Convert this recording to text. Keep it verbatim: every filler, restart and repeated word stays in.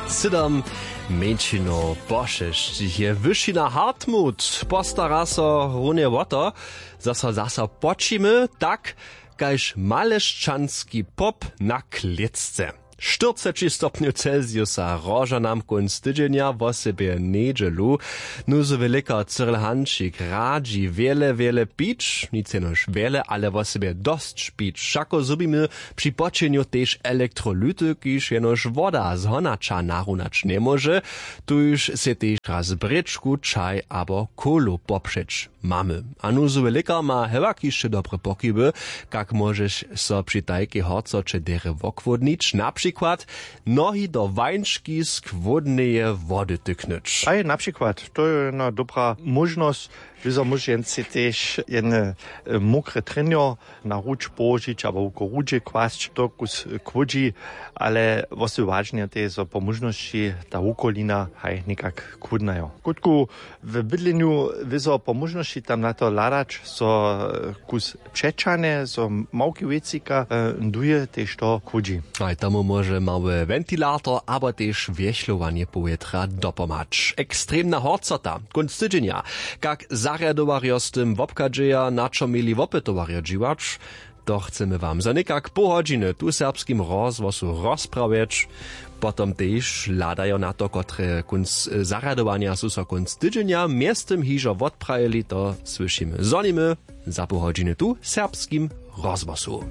Sydom mjeńšinow po šesćich je wyšina hartmut, postara so runje wo to, zo so zaso počimy tak, kaž malešćanski pop na klětce. Štyrceći stopnjow celsiusa roža nam kónc tydźenja wosebje njedźelu. Nuzowy lěkar cyril hančik radźi wjele wjele pić, nic jenož wjele ale wosebje dosć pić wšako zhubimy, při počenju tež elektrolyty kiž jenož woda z honaća narunać njemóže. Tuž sej tež raz brěčku čaj abo kowlu popřeć mamy. A nuzowy lěkar ma hewak hišće dobre pokiwy, kak móžeš so při tajkej horcoće derje wochłódnić, na přikład nohi do wańčki z chłódneje wody tyknyć. Haj, na přikład to je jedna dobra móžnosć. Wězo móžeš jen sej tež jedne mokre trjenjo na ruč połožić abo wuko rudźe kłasć to kus chłódźi. Ale wosebje wažne je tež zo po móžnosći ta wukolina haj někak chłódnajo kutku w bydlenju wězo po móžnosći tam na to hladać zo kus přećahne zo małki wěcika duje tež to chłódźi. Haj tomu móže mały wentilator abo tež wjechlowanje powětra dopomhać. Ekstremna horcota kónc tydźenja, kak zarjadowarjo z tym wobchadźeja, na čo měli wopytowarjo dźiwać, to chcemy wam za někak poł hodźiny tu w serbskim rozhłosu rozprawjeć. Potom tež hladajo na to kotre kónc zarjadowanja su so kónc tydźenja mjeztym hižo wotprajili, to słyšimy. Zhonimy za poł hodźiny tu w serbskim rozhłosu.